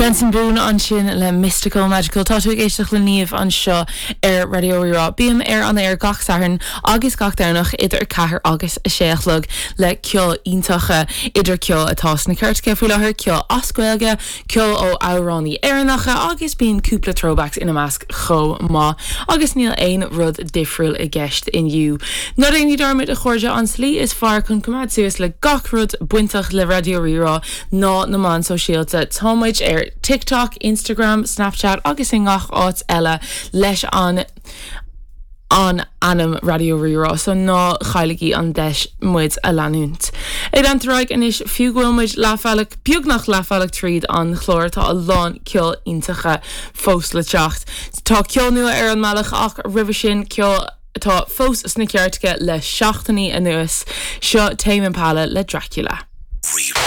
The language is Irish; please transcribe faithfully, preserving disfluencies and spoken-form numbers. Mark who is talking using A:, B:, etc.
A: Benson Boone ansin le Mystical Magical tá tú ag éisteacht le Niamh anseo ar Raidió Rí-Rá. Bím ar an aer gach Satharn agus gach Domhnach idir ceathair agus a sé a chlog le ceol iontach idir ceol atá sna cairteacha faoi láthair ceol as Gaeilge, ceol ó amhránaithe Éireannacha agus bíonn cúpla throwbacks ina measc chomh maith agus níl aon rud difriúil i gceist inniu. Ná déan dearmad a chairde an tslí is fearr chun coimeád suas le gach rud bainteach le Raidió Rí-Rá ná na meáin sóisialta Tá muid ar TikTok, Instagram, Snapchat agus i ngach áit eile leis an an ainm Raidió Rí-Rá, so ná cailligí an deis muid a leanúint. Ag leanúint ar aghaidh anois fiú go bhfuil muid leathbhealach beagnach leathbhealach tríd an chlár tá a lán ceol iontach fós le teacht. Tá ceol nua ar an mbealach ach roimhe sin ceol atá fós sna cairteacha le seachtainí anuas seo Tame Impala le Dracula.